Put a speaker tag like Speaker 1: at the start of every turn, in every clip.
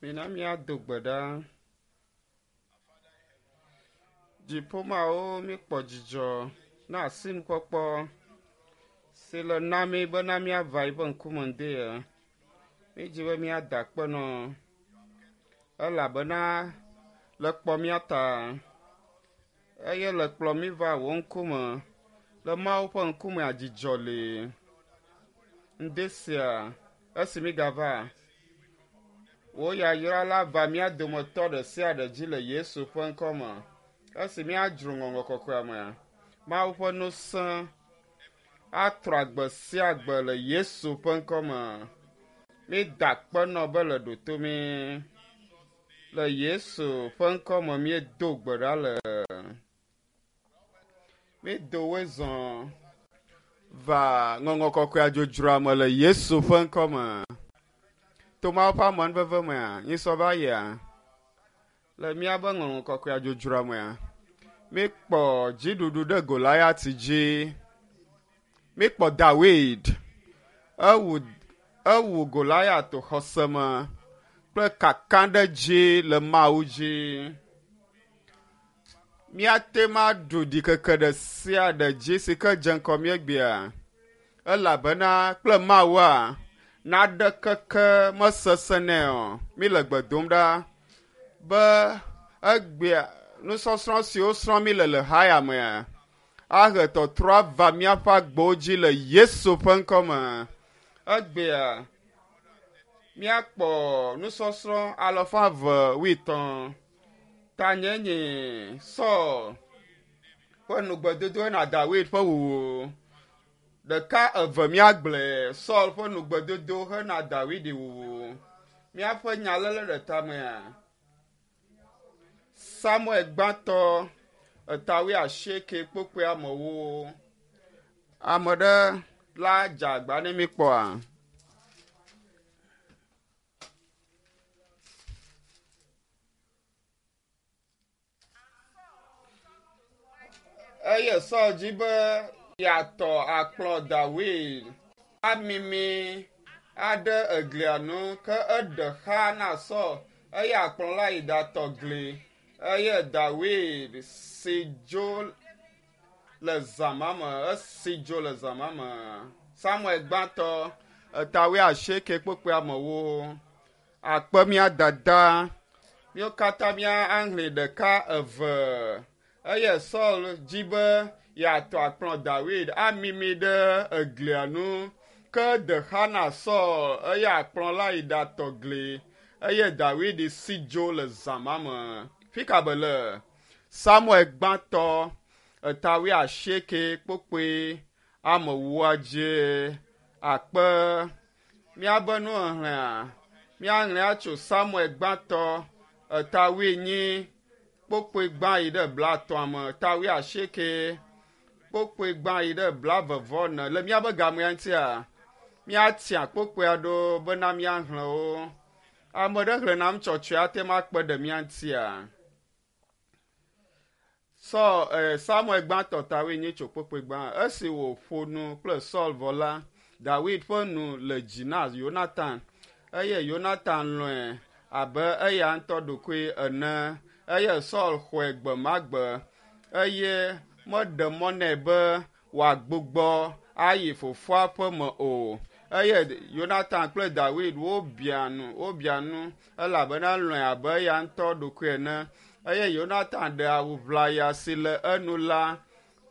Speaker 1: Mina míado gbe ɖa. Dziƒomawo míkpɔ dzidzɔ na asinukpɔkpɔ si le na mí bena míava yiƒe ŋkume ŋdi ya. Mídzi be míada akpe nɔ elabena le kpɔ mía ta eye le kplɔ mí va wò ŋkume. Le Mawu ƒe ŋkumea dzidzɔ li. Ŋdi sia esi mígava wò yayra la va mía dometɔ ɖe sia ɖe dzi le Yesu ƒe ŋkɔ me. Esi míadzro ŋɔŋlɔ kɔkɔea mea, Mawu ƒe ŋusẽ atrɔ agbe sia agbe le Yesu ƒe ŋkɔ me. Mída akpe nɔ be le ɖoto mí. Le Yesu ƒe ŋkɔ me míedo gbe ɖa le. Mído woe zɔ va ŋɔŋlɔ kɔkɔea dzodzroa me le Yesu ƒe ŋkɔ me. To Mawu ƒe amenuveve mea, nyisɔ va yia, le míabe ŋɔŋlɔ kɔkɔea dzodzroa mea, míkpɔ dziɖuɖu ɖe Goliat dzi. Míkpɔ Dawid ewu ewu Goliat xɔse me kple kakaɖedzi le Mawu dzi. Míate ŋu aɖu ɖikeke ɖe sia ɖe dzi si ke dze ŋgɔ mí egbea elabena kple Mawua, naɖekeke mesesẽ nɛ o. Míle gbe dom ɖa be egbea nusɔsrɔ̃ siwo srɔ̃m míle le haya mea ahe tɔtrɔ ava míaƒe agbewo dzi le Yesu ƒe ŋkɔ me. Egbea míakpɔ nusɔsrɔ̃ alafa eve wuietɔ̃. Tanye nye Saul ƒe nugbedodo hena Dawid ƒe wuwu. Ɖeka eve míagblɔe Saul ƒe nugbedodo hena Dawid wuwu. Míaƒe nya léle ɖe tamea. Samuel gbãtɔ eta wuiasieke kpokpoe amewo. Ame ɖe la dze agba ne míkpɔa. Eye Saul dzi be yeatɔ akplɔ Dawid amimi aɖe eglia nu, ke eɖe xa na Saul eye akplɔ la yi ɖatɔ gli. Eye Dawid si dzo le zã ma me, esi dzo le zã ma me. Samuel gbãtɔ eta wuiasieke kpukpui amewo. Akpe mía dada, míwo katã mía ahlẽ ɖeka eve. Eye Saul dzi be yeatɔ akplɔ Dawid amimi ɖe eglia nu. Ke de xa na Saul eye akplɔ la yi ɖatɔ gli eye Dawid si dzo le zã ma me. Fika be le? Samuel gbãtɔ eta wuiasieke kpokpoe amewoa dzie akpe Míabe nuxexlẽa, míaxlẽa tso Samuel gbãtɔ eta wuienyi kpokpoe gbã yi ɖe blaetɔ̃a me, eta wuiasieke kpokpoe gbã yi ɖe blaeve vɔ ene. Le míabe gamea ŋutia, míatia kpokpoe aɖewo bena míaxlẽ wo. Ame ɖe xlẽ nam tsɔtsɔe ate ŋu akpe ɖe mía ŋutia? Saul, eh, Samuel gbãtɔ tawoe nye tso kpokpoe gbã. Esi wòƒo nu kple Saul vɔ la, Dawid ƒe nu le dzi na Yonatan, eye Yonatan lɔ̃e abe eya ŋutɔ ɖokui ene. Eye Saul xɔe gbe ma gbe, eye meɖe mɔ nɛ be wòagbugbɔ ayi fofoa ƒe me o. Eye Yonatan kple Dawid wobia nu, wobia nu, elabena elɔ̃e abe eya ŋutɔ ɖokui ene. Eye Yonatan ɖe awu ʋlaya si le enu la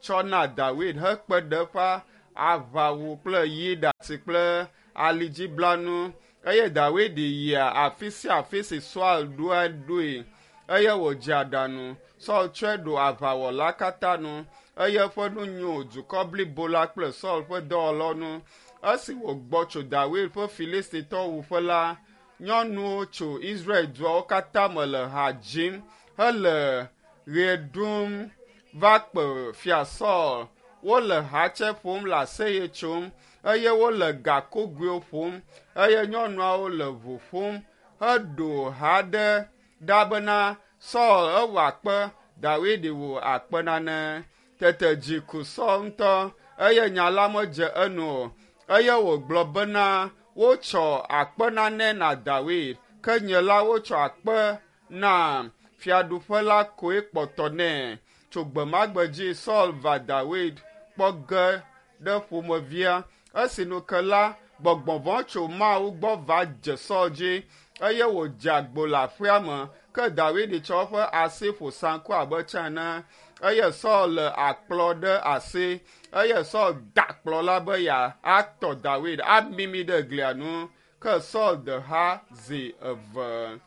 Speaker 1: tsɔ na Dawid hekpe ɖe eƒe aʋawu kple yi ɖati kple alidziblanu. Eye Dawid yia afi sia afi si Saul ɖoa ɖoe, eye wòdze aɖaŋu. Saul tsɔe ɖo aʋawɔla katã nu, eye eƒe nu nyo dukɔ blibo la kple Saul ƒe dɔwɔlawo ŋu. Esi wògbɔ tso Dawid ƒe Filistitɔwo wuƒe la, Nyɔnuwo tso Israel duawo katã me le ha dzim hele ɣe ɖum va kpe Fia Saul. Wole hatse ƒom le aseye tsom eye wole gakogoewo ƒom eye nyɔnuawo le ʋu ƒom heɖo ha ɖe ɖa bena, Saul ewɔ akpe, Dawid wɔ akpe nane. Tete dzi ku Saul ŋutɔ, eye nya la medze enu o. Eye wògblɔ bena, Wotsɔ akpe nane na Dawid, Ke nye la wotsɔ akpe nam, fiaɖuƒe la koe kpɔtɔ nɛ. Tso gbe ma gbe dzi Saul va Dawid kpɔ ge ɖe ƒomevia. Esi nu ke la, gbɔgbɔ vɔ̃ tso Mawu gbɔ va dze Saul dzi eye wòdze agbo le aƒea me. Ke Dawid tsɔ eƒe asi ƒo saŋku abe tsã ene eye Saul le akplɔ ɖe asi eye Saul da akplɔ la be yeatɔ Dawid amimi ɖe glia nu. Ke Saul de ha zi eve.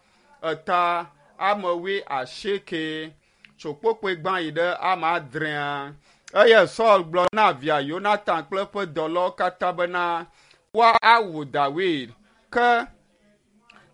Speaker 1: Eta ame 80 tso kpokpoe gbã yi ɖe ame adrea. Eye Saul gblɔ na via Yonatan kple eƒe dɔlawo katã bena woawu Dawid. Ke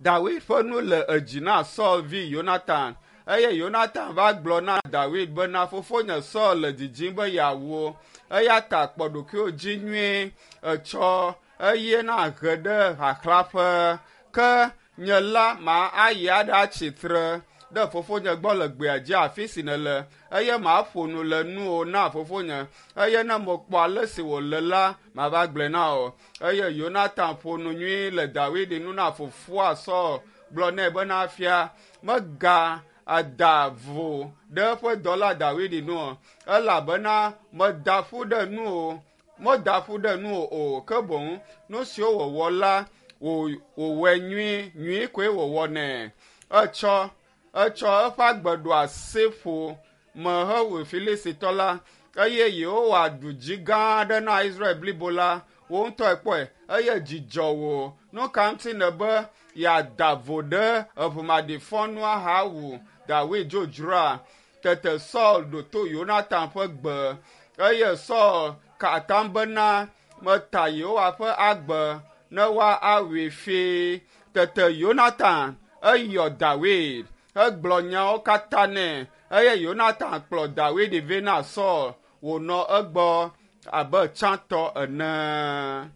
Speaker 1: Dawid ƒe nu le edzi na Saul vi Yonatan. Eye Yonatan va gblɔ na Dawid bena fofonye Saul le didim be yeawu wo. Eya ta kpɔ ɖokuiwò dzi nyuie etsɔ eye na he ɖe xaxlaƒe. Ke nye la ma ayi aɖatsi tre ɖe fofonye gbɔ le gbea dzi afi si nèle eye maƒo nu le nuwò na fofonye eye ne mekpɔ ale si wòle la mava gblɔe na wò. Eye Yonatan ƒo nu nyui le Dawid nu na fofoa Saul gblɔ nɛ bena fia mega ada vo ɖe eƒe dɔla Dawid nu o elabena meda ƒu ɖe nu o meda ƒu ɖe nu o ke boŋ nu siwo wòwɔ la wòwɔe nyui nyui koe wòwɔ nɛ. Etsɔ eƒe agbe ɖo asi ƒo me hewu Filistitɔ la eye Yehowa ɖu dzi gã aɖe na Israel blibo la. Wò ŋutɔe kpɔe eye dzidzɔ wò. Nu ka ŋuti nèbe yeada vo ɖe eʋumaɖifɔnu ahawu Dawid dzodzroa? Tete Saul ɖo to Yonatan ƒe gbe eye Saul ka atam bena meta Yehowa ƒe agbe ne woawui fii. Tete Yonatan eyɔ Dawid hegblɔ nyawo katã nɛ eye Yonatan kplɔ Dawid vɛ na Saul wònɔ egbɔ abe tsãtɔ ene.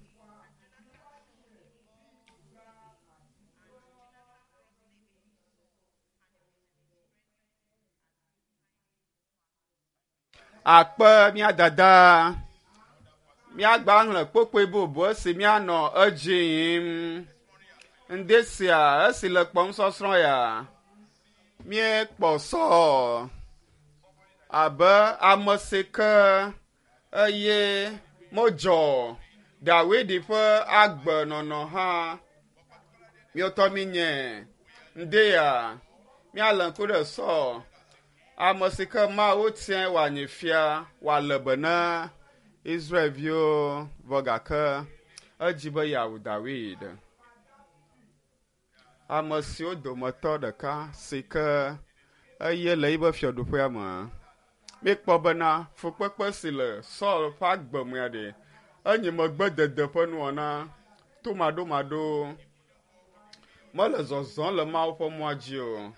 Speaker 1: Akpe mía dada, míagba xlẽ kpokpoe bubu esi míanɔ edzi yim. Ŋdi sia esi le kpɔm sɔsrɔ̃ ya, míekpɔ Saul abe ame si ke eye modzɔ Dawid ƒe agbenɔnɔ hã. Míetɔ míenye ŋdi ya míalé ŋku ɖe Saul, ame si ke Mawu tiae wòanyi fia wòale be na Israelviwo vɔ gake edzi be yeawu Dawid. Ame siwo dometɔ ɖeka si ke eye le yiƒe fiaɖuƒea me. Míekpɔ bena fukpekpe si le Saul ƒe agbe mea ɖe enye megbedede ƒe nuwɔna tomaɖomaɖo. Mele zɔzɔm le Mawu ƒe mɔa dzi o.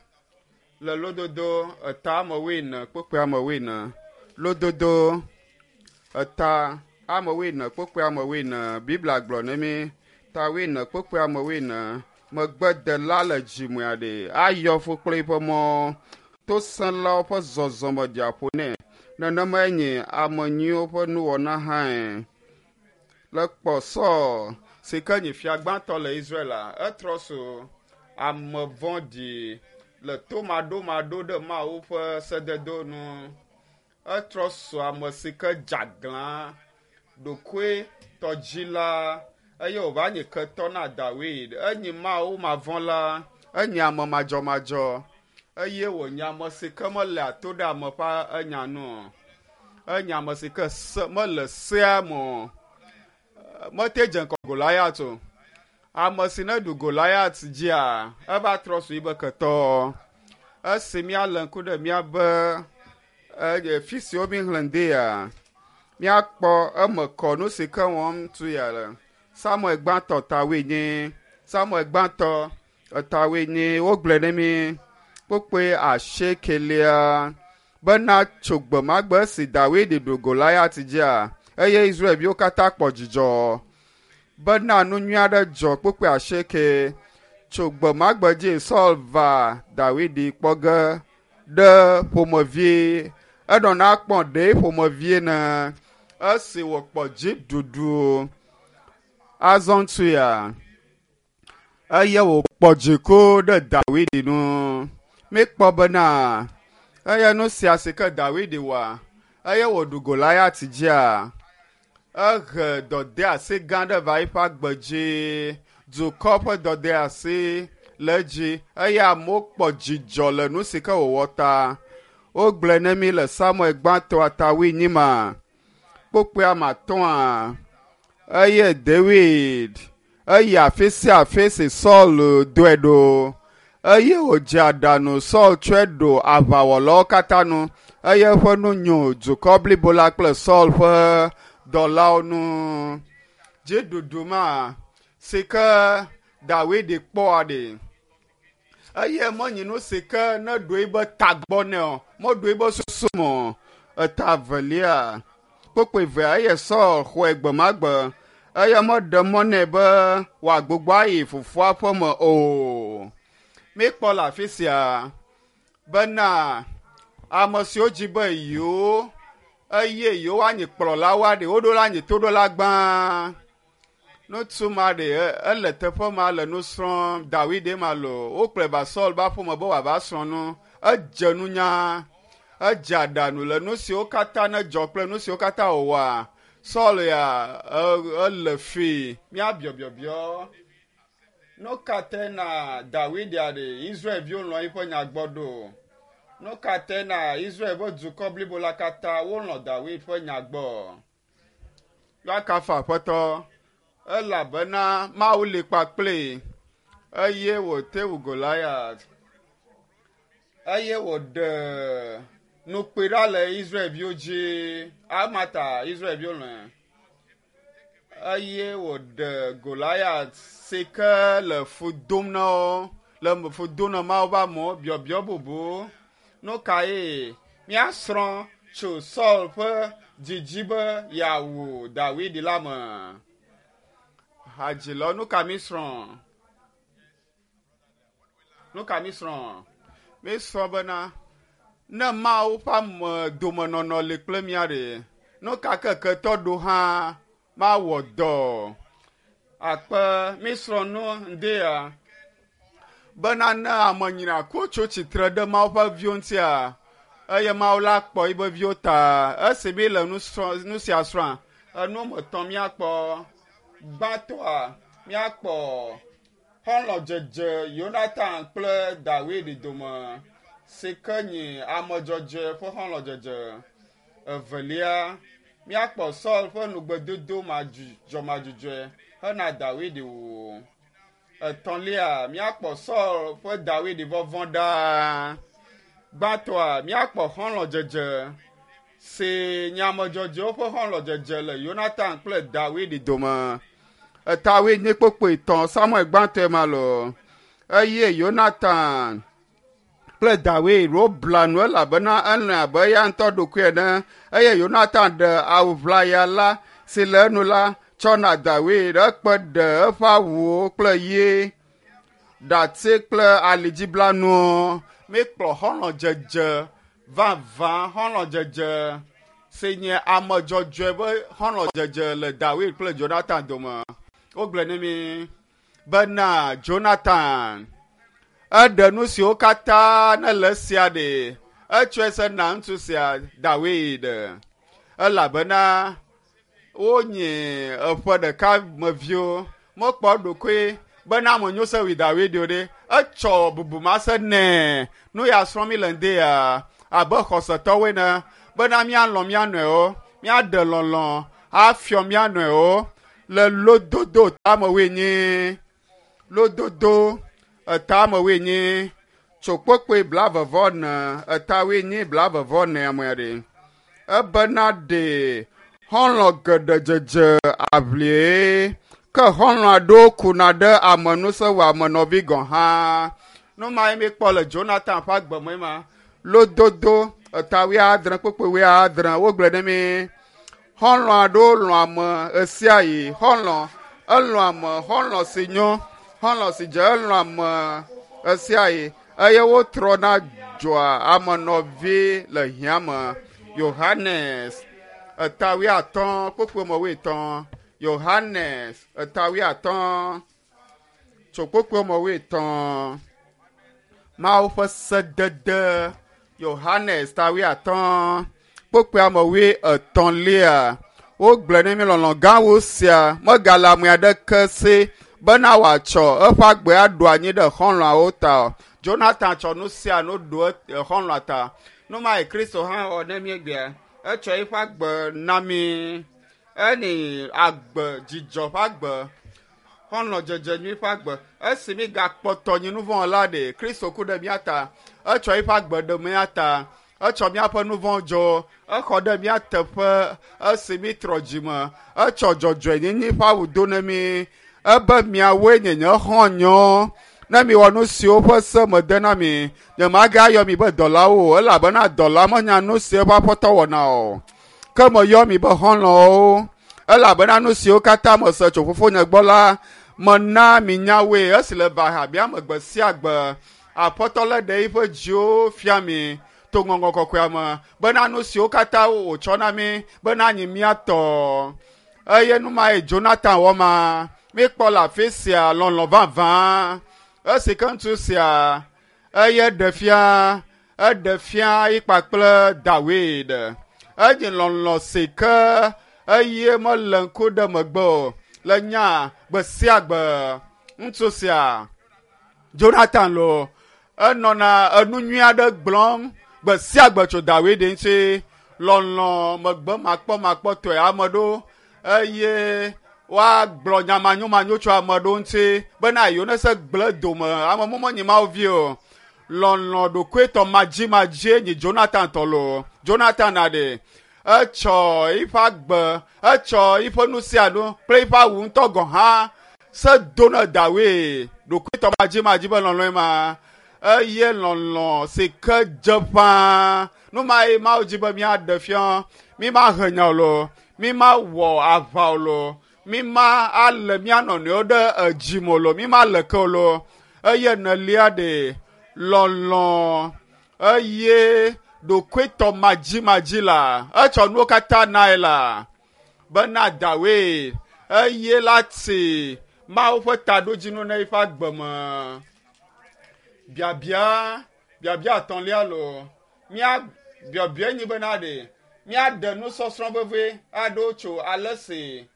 Speaker 1: Le lododo eta ame wuiene kpukpui ame wuiene. Lododo eta ame wuiene kpukpui ame wuiene. Biblia gblɔ ne mí ta wuiene kpukpui ame wuiene. Megbedela le dzimea ɖe ayɔ fu kple eƒe mɔ. Tosẽlawo ƒe zɔzɔme ɖia ƒo nɛ. Nenemae nye ame nyuiwo ƒe nuwɔna hãe. Le kpɔ Saul si ke nye fia gbãtɔ le Israel la, etrɔ so ame vɔ̃ɖi le tomaɖomaɖo ɖe Mawu ƒe sededo nu. Etrɔ so ame si ke dze aglã ɖokuitɔdzila eye wòva nye ketɔ na Dawid. Enye Mawu mavɔ̃la, enye ame madzɔmadzɔ eye wònye ame si ke melea to ɖe ame ƒe enya nu o. Enye ame si ke se mele sea me o. Mete dze ŋgɔ Goliat o. Ame si ne ɖu Goliat dzia, eva trɔ zu yiƒe ketɔ. Esi míalé ŋku ɖe míaƒe fi siwo míxlẽ ŋdea, míakpɔ eme kɔ nu si ke wɔm tu ya le. Samuel gbãtɔ ta wuienyi. Samuel gbãtɔ ta wuienyi. Wogblɔe ne mí kpukpui asiekelia bena tso gbe ma gbe si Dawid ɖu Goliat dzia, eye Israelviwo katã kpɔ dzidzɔ bena nu nyui aɖe dzɔ kpukpui asieke. Tso gbe ma gbe dzi Saul va Dawid kpɔ ge ɖe ƒomevie. Enɔna kpɔ ɖe ƒomevie ne esi wòkpɔ dziɖuɖu azɔ ŋutu ya. Eye wòkpɔ dziku ɖe Dawid ŋu. Míkpɔ bena eye nu sia si ke Dawid wɔa, eye wòɖu Goliat dzia, ehe dɔdeasi gã aɖe va eƒe agbe dzi. Dukɔ ƒe dɔdeasi le edzi eye amewo kpɔ dzidzɔ le nu si ke wòwɔ ta. Wogblɔe ne mí le Samuel gbãtɔa ta wuienyi ma, kpukpui ame atɔ̃a eye David eyi afi sia afi si Saul dɔe ɖo eye wòdze aɖaŋu Saul tsɔe ɖo aʋawɔlawo katã nu eye eƒe nu nyo dukɔ blibo la kple Saul ƒe dɔlawo nu. Dziɖuɖu ma si ke Dawid kpɔa ɖi eye menyi nu si ke ne ɖo ebe tagbɔ nɛ o, meɖo ebe susu me o. Eta evelia, kpukpui evea eye Saul xɔe gbe ma gbe eye meɖe mɔ nɛ be wòagbugbɔ ayi fofoa ƒe me o. Míkpɔ le afi sia bena ame siwo dzi be yewo eye yewoanyi kplɔlawoa ɖe woɖo la nyi toɖola gbã. Ŋutsu ma ɖe ele teƒe ma le nu srɔ̃m Dawid ma lo wokplɔe va Saul ƒe aƒeme be wòava srɔ̃ nu. Edze nunya, edze aɖaŋu le nu siwo katã nedzɔ kple nu siwo katã wòwɔa. Saul ya ele fi míabiɔ biɔbiɔ. Nu ka tae na Dawid ɖe Israelviwo lɔ̃ eƒe nya gbɔ ɖo? Nu ka tae na Israel ƒe dukɔ blibo la katã wolɔ̃ Dawid ƒe nya gbɔ? Woakafu Aƒetɔ elabena Mawu li kpakpli eye wòte wu Goliat eye wòɖe nukpui ɖa le Israelviwo dzi. Amata Israelviwo lɔ̃e eye wòɖe Goliat si ke le fu dom na wo le fu dom na Mawu ƒe amewo biɔbiɔ bubu. Nu kae míasrɔ̃ tso Saul ƒe didi be yeawu Dawid la me? Hadzilɔ, nu ka mísrɔ̃? Nu ka mísrɔ̃? Mísrɔ̃ bena ne Mawu ƒe ame domenɔnɔ li kple mía ɖe, nu ka ke ketɔ ɖo hã mawɔ dɔ. Akpe mísrɔ̃ nu ŋdea bena ne ame nyrakuwo tso tsitre ɖe Mawu ƒe viwo ŋutia, eye Mawu la kpɔ eƒe viwo ta. Esi mi le nu sia srɔ̃a, enu me etɔ̃ míakpɔ. Gbãtɔa, míakpɔ xɔlɔ̃dzedze Yonatan kple Dawid dome si ke nyi ame dzɔdzɔe ƒe xɔlɔ̃dzedze. Evelia, míakpɔ Saul ƒe nugbedodo madzudzɔmadzudzɔe hena Dawid wuwu. Etɔ̃lia, míakpɔ Saul ƒe Dawid vɔvɔ̃ ɖaa. Gbãtɔa, míakpɔ xɔlɔ̃dzedze si nye ame dzɔdzɔewo ƒe xɔlɔ̃dzedze le Yonatan kple Dawid dome. Etawoe nye kpokpoe tɔ̃ Samuel gbãtɔe ma lo. Eye Yonatan kple Dawid wobla nu elabena elɔ̃e abe eya ŋutɔ ɖokui ene. Eye Yonatan ɖe awu ʋlaya la si le enu la tsɔ na Dawid ekpe ɖe eƒe awuwo kple ɣi, ɖati kple alidziblanuwo. Míkplɔ xɔlɔ̃dzedze vavã xɔlɔ̃dzedze si nye ame dzɔdzɔe ƒe xɔlɔ̃dzedze le Dawid kple Jonathan dome. Wogblɔe ne mí bena Jonathan eɖe nu siwo katã ne le esia ɖe etsɔe se na ŋutsu sia Dawid elabena wonyi eƒe ɖeka me viwo mekpɔ eɖokui bena ame nyo se wi Dawid o ɖe etsɔ bubu ma se nɛ nu ya srɔ̃ mi le ŋde ya abe xɔsetɔwoe ne bena míalɔ̃ mía nɔewo míaɖe lɔlɔ̃ afiɔ mía nɔewo le lododo tamewoe nyi lododo etamewoe nyi tso kpokpoe blavevɔ ne etawoe nyi blavevɔ ne amea ɖe ebena ɖe xɔlɔ̃ geɖe dzedze aʋlie ke xɔlɔ̃ aɖewo kuna ɖe ame nu se wɔ ame nɔvi gɔ̃ hã. Nu mae míekpɔ le Jonathan ƒe agbe me ma. Lododo eta wuiadre kpukpui wuiadre wogblɔe ne mí. Xɔlɔ̃ aɖewo lɔ̃ ame ɣesiaɣi. Xɔlɔ̃ elɔ̃ ame, xɔlɔ̃ si nyo, xɔlɔ̃ si dze elɔ̃ ame ɣesiaɣi eye wotrɔna dzɔa ame nɔvi le hiã me. Yohanes eta wuiatɔ̃ kpukpui me wuietɔ̃. Yohanes eta wuiatɔ̃. Tso kpukpui me wuietɔ̃. Mawu ƒe sedede Yohanes ta wuiatɔ̃ kpukpui me wuietɔ̃lia. Wogblɔe ne mi lɔlɔ̃ gã wu sia megale ame aɖeke si bena wòatsɔ eƒe agbe aɖo anyi ɖe xɔlɔ̃awo ta o. Jonathan tsɔ nu sia nu ɖo xɔlɔ̃a ta. Nu ma yi Kristo hã wɔ ne míegbea. Etsɔ eƒe agbe na mí. Eni agbe dzidzɔ ƒe agbe xɔlɔ̃dzedze nyui ƒe agbe. Esi mi gakpɔtɔ nyi nu vɔ̃ la ɖe Kristo ku ɖe mía ta. Etsɔ eƒe agbe ɖe mía ta. Etsɔ míaƒe nu vɔ̃ dzo. Exɔ ɖe mía teƒe esi mi trɔ dzime. Etsɔ dzɔdzɔenyenye ƒe awu do ne mí. Ebe miawoe nye nye xɔ̃nyewo. Ne miwɔ nu siwo ƒe se mede na mi, nyemagayɔ mi be dɔlawo o elabena dɔla menya nu si eƒe aƒetɔ wɔna o. Ke meyɔ mi be xɔlɔ̃wo elabena nu siwo katã mese tso fofonye gbɔ la, mena mi nya woe esi le va hamea me gbe sia gbe. Aƒetɔ lé ɖe eƒe dziwo fia mi to ŋɔŋlɔ kɔkɔea me bena nu siwo katã wòtsɔ na mí bena nyi mía tɔ. Eye nu ma yi Jonathan wɔ ma, míkpɔ le afi sia lɔlɔ̃ vavã. Esi ke ŋutsu sia eye ɖe fia, eɖe fia yi kpakple Dawid. Enyi lɔlɔ̃ si ke eye mele ŋku ɖe megbe o le nya gbe sia gbe. Ŋutsu sia Jonathan lo enɔna enu nyui aɖe gblɔm gbe sia gbe tso Dawid ŋuti. Lɔlɔ̃ megbe makpɔmakpɔtɔe ame ɖo eye woagblɔ nya manyomanyo tso ame ɖewo ŋuti bena yewo ne se gblẽ dome ame mɔ menyi Mawu vi o. Lɔlɔ̃ ɖokuitɔ madzimadzie nyi Jonathan tɔ lo. Jonathan na ɖe etsɔ eƒe agbe, etsɔ eƒe nu sia nu kple eƒe awu ŋutɔ gɔ̃ hã se do ne Dawid. Ɖokuitɔ madzimadzi be lɔlɔ̃e ma eye lɔlɔ̃ si ke dze ƒãa. Nu ma ye Mawu dzi be míaɖe fia. Mi mahe nya o lo, mi mawɔ aʋa o lo, mi ma alé mía nɔnɔewo ɖe edzi me o lo, mi ma le ke o lo. Eye nelia ɖe lɔlɔ̃ eye ɖokuitɔ madzimadzi la etsɔ nuwo katã nae la bena Dawid eye la ti Mawu ƒe taɖodzinu ne eƒe agbe me. Biabia biabia etɔ̃lia lo mía biabia nyi bena ɖe míaɖe nusɔsrɔ̃ veve aɖewo tso ale si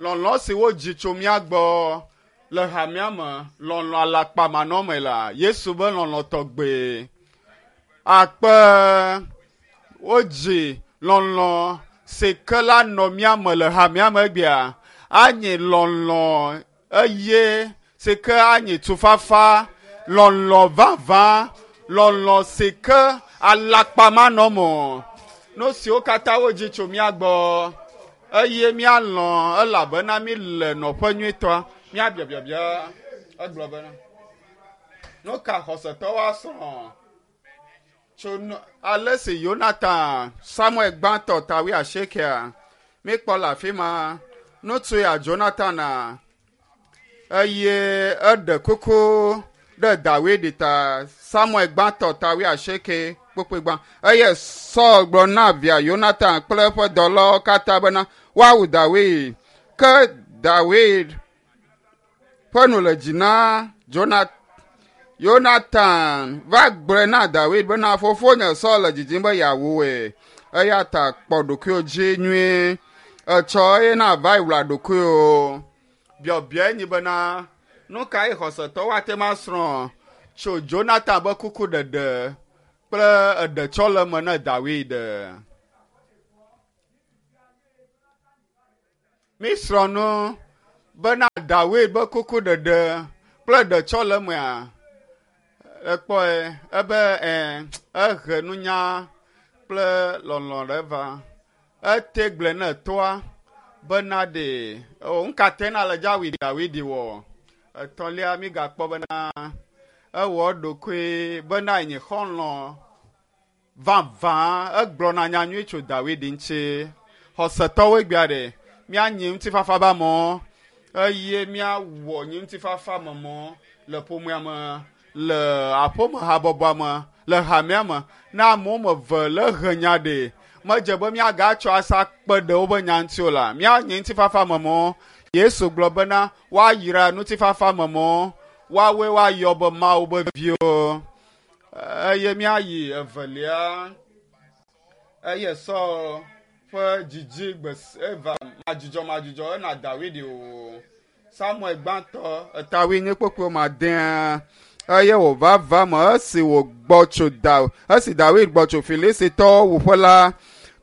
Speaker 1: lɔlɔ̃ si wodzi tso mía gbɔ le hamea me lɔlɔ̃ alakpamanɔme la Yesu be lɔlɔ̃ tɔgbe akpe wodzi lɔlɔ̃ si ke la nɔ mía me le hamea me egbea anyi lɔlɔ̃ eye si ke anyi tufafa lɔlɔ̃ vavã lɔlɔ̃ si ke alakpamanɔme o. Nu siwo katã wodzi tso mía gbɔ eye míalɔ̃ elabena mí le nɔƒe nyuitɔa. Míabia biabia egblɔ bena nu ka xɔsetɔwo asrɔ̃ tso nu ale si Yonatan Samuel gbãtɔ ta wuiasiekea míkpɔ le afi ma ŋutsu ya Jonathan a eye eɖe kuku ɖe Dawid ta Samuel gbãtɔ ta wuiasieke kpukpui gbã eye Saul gblɔ na via Yonatan kple eƒe dɔlawo katã bena woawu Dawid ke Dawid ƒe nu le dzi na Jonathan. Yonatan va gblɔe na Dawid bena fofonye Saul le didim be yeawu wòe eya ta kpɔ ɖokuiwò dzi nyuie etsɔ eye na va yi wla ɖokuiwò. Biabiae nyi bena nu kae xɔsetɔwo ate ŋu asrɔ̃ tso Jonathan be kukuɖeɖe kple eɖetsɔleme ne Dawid? Mísrɔ̃ nu bena Dawid be kukuɖeɖe kple ɖetsɔlemea ekpɔe ebe ɛ ehe nunya kple lɔlɔ̃ ɖe va. Ete gblɔe ne toa bena ɖe o ŋka te na le dza wui Dawid wɔ. Etɔ̃lia mígakpɔ bena ewɔ eɖokui bena yenye xɔlɔ̃ vavã egblɔna nya nyui tso Dawid ŋuti. Xɔsetɔwo egbea ɖe míanyi ŋutifafa be amewo eye míawɔ nyi ŋutifafa me mɔ le ƒomea me, le aƒeme habɔbɔa me, le hamea me. Ne amewo me ve le he nya ɖe medze be míagatsɔ asa kpe ɖe woƒe nya ŋuti o la, míanyi ŋutifafa me mɔ. Yesu gblɔ bena woayra ŋutifafa me mɔ, woawoe woayɔ be Mawu be viwo. Eye míayi evelia. Eye Saul ƒe dzidzi gbe eva madzudzɔmadzudzɔ ena Dawid o. Samuel gbãtɔ eta wuienyi kpukpui ma dea eye wòva va me esi wògbɔ tso da esi Dawid gbɔ tso Filistitɔwo wuƒe la,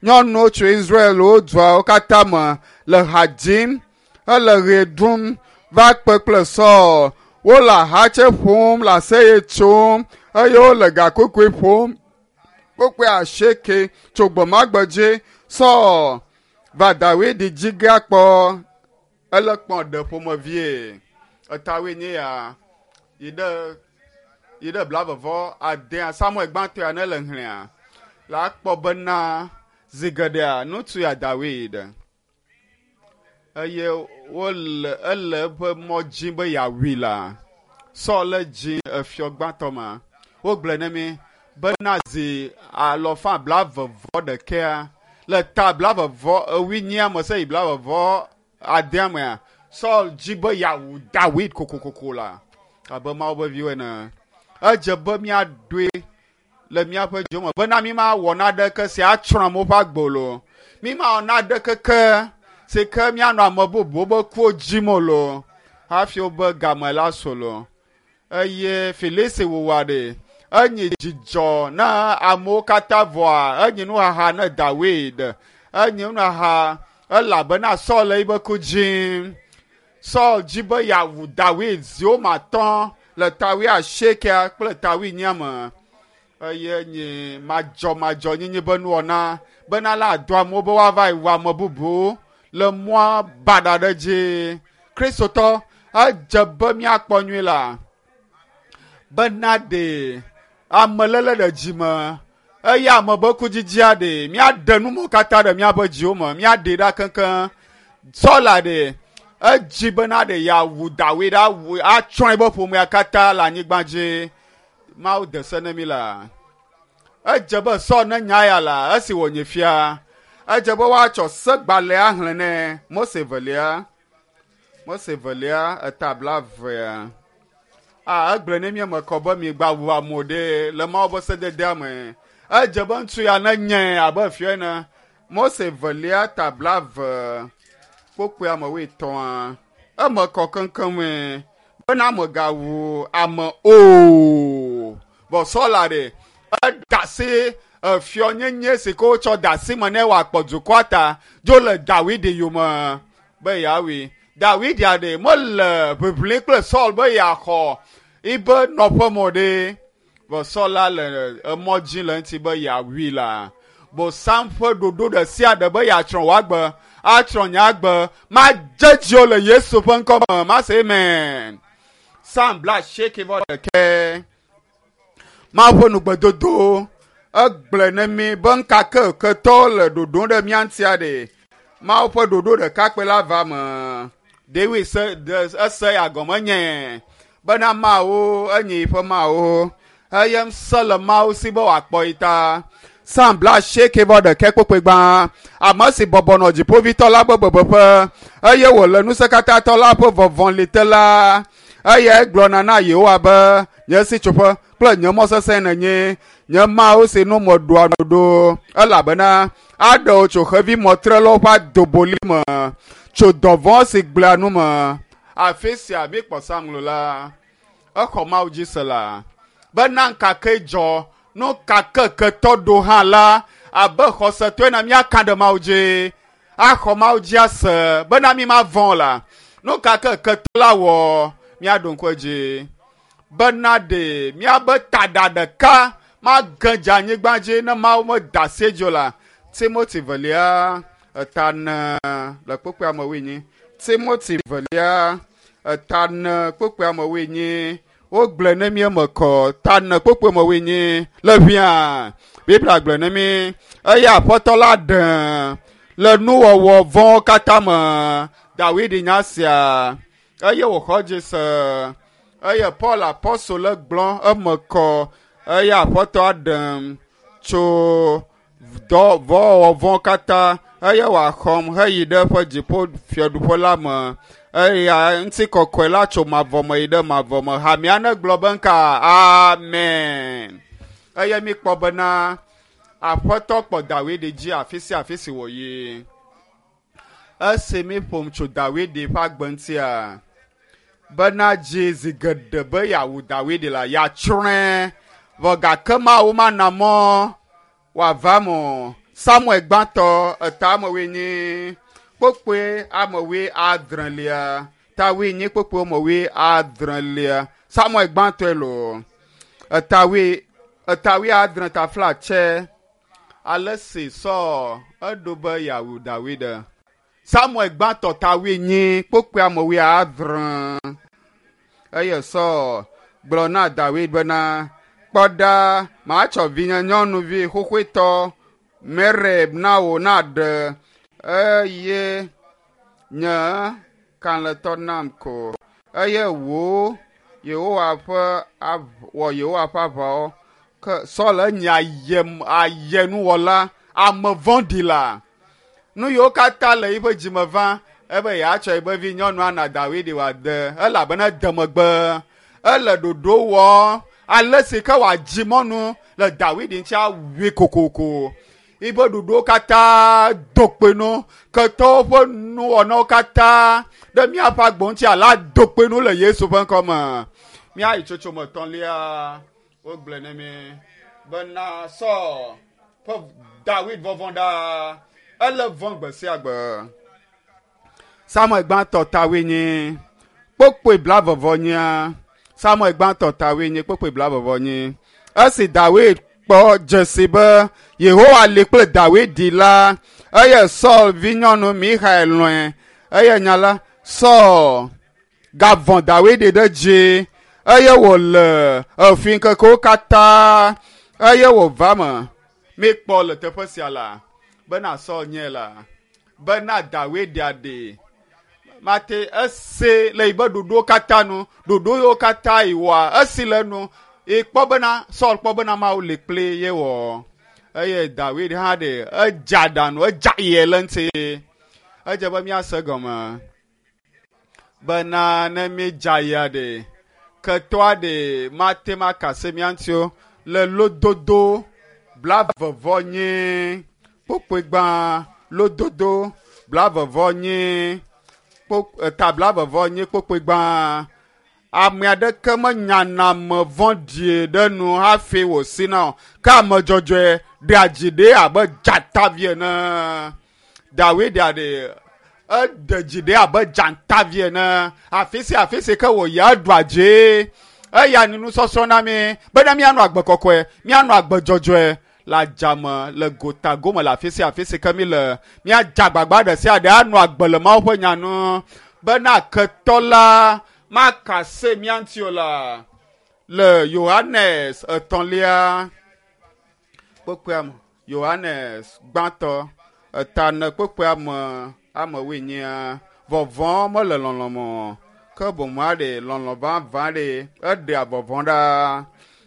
Speaker 1: nyɔnuwo tso Israel wo duawo katã me le ha dzim hele ɣe ɖum va kpe kple Saul. Wole ahatse ƒom le aseye tsom eye wole gakogoe ƒom. Kpukpui asieke tso gbemagbe dzi Saul va Dawid dzi ge akpɔ ele kpɔ ɖe ƒomevie. Etawoe nye ya yi ɖe yi ɖe blavevɔ adea Samuel gbãtɔ ya ne le hlẽa la kpɔ bena zi geɖea ŋutsu ya Dawid eye wole ele eƒe mɔ dzi be yeawui la Saul le dzi efiɔ gbãtɔ ma. Wogblɔe ne mi bena zi alɔfa blavevɔ ɖekea le ta blavevɔ ewuinyia me se yi blavevɔ adea mea Saul dzi be yeawu Dawid kokokoko la abe Mawu be viwo ene. Edze be míaɖoe le míaƒe dzo me bena mi ma wɔ naɖeke si atsrɔ̃ amewo ƒe agbe o lo. Mi ma wɔ naɖeke ke si ke míanɔ ame bubuwo be kuwo dzim o lo hafi wobe game la su lo. Eye Filisti wuwua ɖe enyi dzidzɔ na amewo katã vɔa enyi nuxaxa ne Dawid. Enyi nuxaxa elabena Saul le yibe ku dzim. Saul dzi be yeawu Dawid ziwo matɔ le ta wuiasiekea kple ta wuienyia me. Eye nyi madzɔmadzɔnyenye be nuwɔna bena la ado amewo be woava yi wu ame bubu le mɔa baɖa ɖe dzi. Kristotɔ edze be míakpɔ nyui la bena ɖe ameléle ɖe dzi me eye ame be kudzidzia ɖe míaɖe numɔ katã ɖe míaƒe dziwo me míaɖe ɖa keŋkeŋ. Saul ɖe edzi bena ɖe yeawu Dawid awu atsrɔ̃ eƒe ƒomea katã le anyigba dzi. Mawu de se ne mi la. Edze be Saul ne nya ya la esi wònye fia. Edze be woatsɔ segbalẽa xlẽ nɛ. Mose velia. Mose velia eta blaevea. A egblɔe ne mi eme kɔ be mi gba wu amewo ɖe le Mawu ƒe sededea me. Edze be ŋutsu ya ne nye abe fia ene. Mose velia ta blaeve kpukpui ame wuietɔ̃a. Eme kɔ keŋkeŋe bena megawu ame o. Vɔ Saul ɖe eda asi efiɔnyenye si ke wotsɔ de asi me ne wòakpɔ dukɔa ta dzo le Dawid yome be yeawui. Dawid ya ɖe mele ʋiʋli kple Saul be yeaxɔ yibe nɔƒe me o ɖe. Vɔ Saul la le emɔ dzi le eŋuti be yeawui la. Bosam ƒe ɖoɖo ɖe sia ɖe be yeatsrɔ̃ wòagbe, atsrɔ̃ nye agbe, madze dziwò le Yesu ƒe ŋkɔ me. Mase amen. Psalm blaasieke vɔ ɖekɛ. Mawu ƒe nugbedodo egblɔe ne mi be ŋkake ketɔwo le ɖoɖom ɖe mía ŋutia ɖe. Mawu ƒe ɖoɖo ɖeka kpe la va me. David se de ese ya gɔme nye bena Mawu enye yiƒe Mawu eye ŋusẽ le Mawu si be wòakpɔ yi ta. Psalm blaasieke vɔ ɖekɛ kpukpui gbã. Ame si bɔbɔ nɔ dziƒovitɔ la ƒe bebeƒe eye wòle ŋusẽkatãtɔ la ƒe vɔvɔli te la, eyae gblɔna na Yehowa be, nye sitsoƒe kple nye mɔ sesẽ nènye, nye Mawu si nu meɖoa nu ɖo, elabena aɖe wò tso xevi mɔtrelawo ƒe adoboli me, tso dɔvɔ̃ si gblẽa nu me. Afi sia míkpɔ Psalm la, exɔ Mawu dzi se la, bena ŋkake dzɔ nu ka ke ketɔ ɖo hã la, abe xɔsetɔe na míaka ɖe Mawu dzi, axɔ Mawu dzi ase bena mi ma vɔ̃ o la. Nu ka ke ketɔ la wɔ, míaɖo ŋku edzi bena ɖe míabe taɖa ɖeka mage dze anyigba dzi ne Mawu meda asi edzi o la. Timoti velia eta ne le kpukpui ame wuienyi. Timoti velia eta ne kpukpui ame wuienyi. Wogblɔe ne mi eme kɔ ta ne kpukpui ame wuienyi le ʋia. Biblia gblɔe ne mi eye Aƒetɔ la ɖe le nuwɔwɔ vɔ̃wo katã me. Dawid nya sia eye wòxɔ dzi se eye Paul apɔstol le gblɔ eme kɔ eye Aƒetɔ ɖem tso dɔ vɔwɔwɔ vɔ̃ katã eye wòaxɔm heyi ɖe eƒe dziƒo fiaɖuƒe la me. Eya ŋutikɔkɔe la tso mavɔ me yi ɖe mavɔ me. Hamea ne gblɔ be ŋka amen. Eye míkpɔ bena Aƒetɔ kpɔ Dawid dzi afi sia afi si wòyi. Esi míƒom tso Dawid ƒe agbe ŋutia, bena dzi zi geɖe be yeawu Dawid la, yeatsrɔ̃e, vɔ gake Mawu mana mɔ wòava eme o. Samuel gbãtɔ eta ame wuienyi kpokpoe ame wuiadrelia ta wuienyi kpokpoe ame wuiadrelia. Samuel gbãtɔe loo eta wui eta wuiadre ta flatse ale si Saul eɖo be yeawu Dawid. Samuel gbãtɔ ta wuienyi kpokpoe ame wuiadre eye Saul gblɔ na Dawid bena, kpɔ ɖa, matsɔ vinye nyɔnuvi xoxoetɔ Mereb na wò naɖe eye nye kalẽtɔ nam ko eye wò Yehowa ƒe wɔ Yehowa ƒe aʋawo. Ke Saul enye ayenuwɔla, ame vɔ̃ɖi la. Nu yiwo katã le eƒe dzime va ebe yeatsɔ eƒe vi nyɔnua na Dawid wòade elabena ede megbe. Ele ɖoɖo wɔm ale si ke wòadzi mɔnu le Dawid ŋuti awui kokoko. Eƒe ɖoɖowo katã do kpe nu. Ketɔwo ƒe nuwɔnawo katã ɖe míaƒe agbo ŋuti ala do kpe nu le Yesu ƒe ŋkɔme. Míayi tsotsome etɔ̃lia, wogblɔe ne mí bena Saul ƒe Dawid vɔvɔ̃ ɖaa. Ele vɔ̃ gbe sia gbe. Samuel gbãtɔ ta wuienyi kpokpoe blaeve nyia. Samuel gbãtɔ ta wuienyi kpokpoe blaeve nyi. Esi Dawid kpɔ dzesi be Yehowa li kple Dawid la, eye Saul vinyɔnu Mixael lɔ̃e. Eye nya la, Saul gavɔ̃ Dawid ɖe dzi eye wòle efi ŋkekewo katã eye wòva me. Míkpɔ le teƒe sia la bena Saul nye la bena Dawid aɖe mate ese le yibe ɖoɖowo katã nu, ɖoɖo yiwo katã yi wɔa esi le nu ekpɔ bena Saul kpɔ bena Mawu li kpli ye wɔ eye Dawid hã ɖe edze aɖaŋu, edze aye le ŋuti. Edze be míase gɔme bena ne míedze ayea ɖe ketɔa ɖe mate ŋu aka asi mía ŋuti o le lododo blaeve nyi kpokpoe gbã lododo blaeve nyi eta blaeve nyi kpokpoe gbã. Ame aɖeke menyana ame vɔ̃ɖi ɖe nu hafi wòsina o, ke ame dzɔdzɔe ɖea dzi ɖe abe dzatavi ene. Dawid aɖe eɖe dzi ɖe abe dzatavi ene. Afi sia afi si ke wòyi eɖua dzi. Eya ni nusɔsrɔ̃ na mí bena míanɔ agbe kɔkɔe, míanɔ agbe dzɔdzɔe le adzame, le gota gome, le afi sia afi si ke míle. Míadze agbagba ɖe sia ɖe anɔ agbe le Mawu ƒe nya nu bena ketɔ la maka se mía ŋuti o la. Le Yohanes etɔ̃lia kpekpea me, Yohanes gbãtɔ eta ene kpekpea me ame wuienyia, vɔvɔ̃ mele lɔlɔ̃ me o, ke boŋ aɖe lɔlɔ̃ vavã ɖe eɖea vɔvɔ̃ ɖa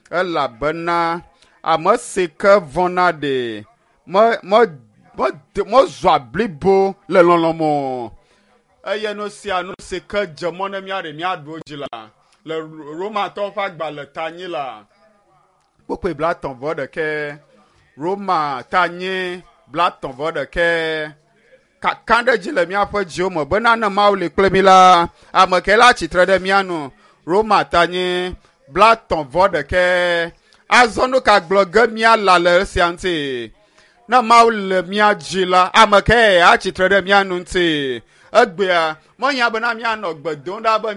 Speaker 1: elabena ame si ke vɔ̃na ɖe mezɔa blibo le lɔlɔ̃ me o. Eye nu sia nu si ke dze mɔ ne míaɖe míaɖu dzi la le Romatɔwo ƒe agbalẽ ta nyi la kpokpoe 30 vɔ ɖekɛ. Roma ta nyi 30 vɔ ɖekɛ. Kakaɖedzi le míaƒe dziwo me bena ne Mawu li kple mí la, ame ke la tsitre ɖe mía nu. Roma ta nyi 30 vɔ ɖekɛ. Azɔ nu ka gblɔ ge míala le esia ŋuti? Ne Mawu le mía dzi la, ame ke atsitre ɖe mía nu ŋuti? Egbea mehiã bena míanɔ gbe dom ɖa be.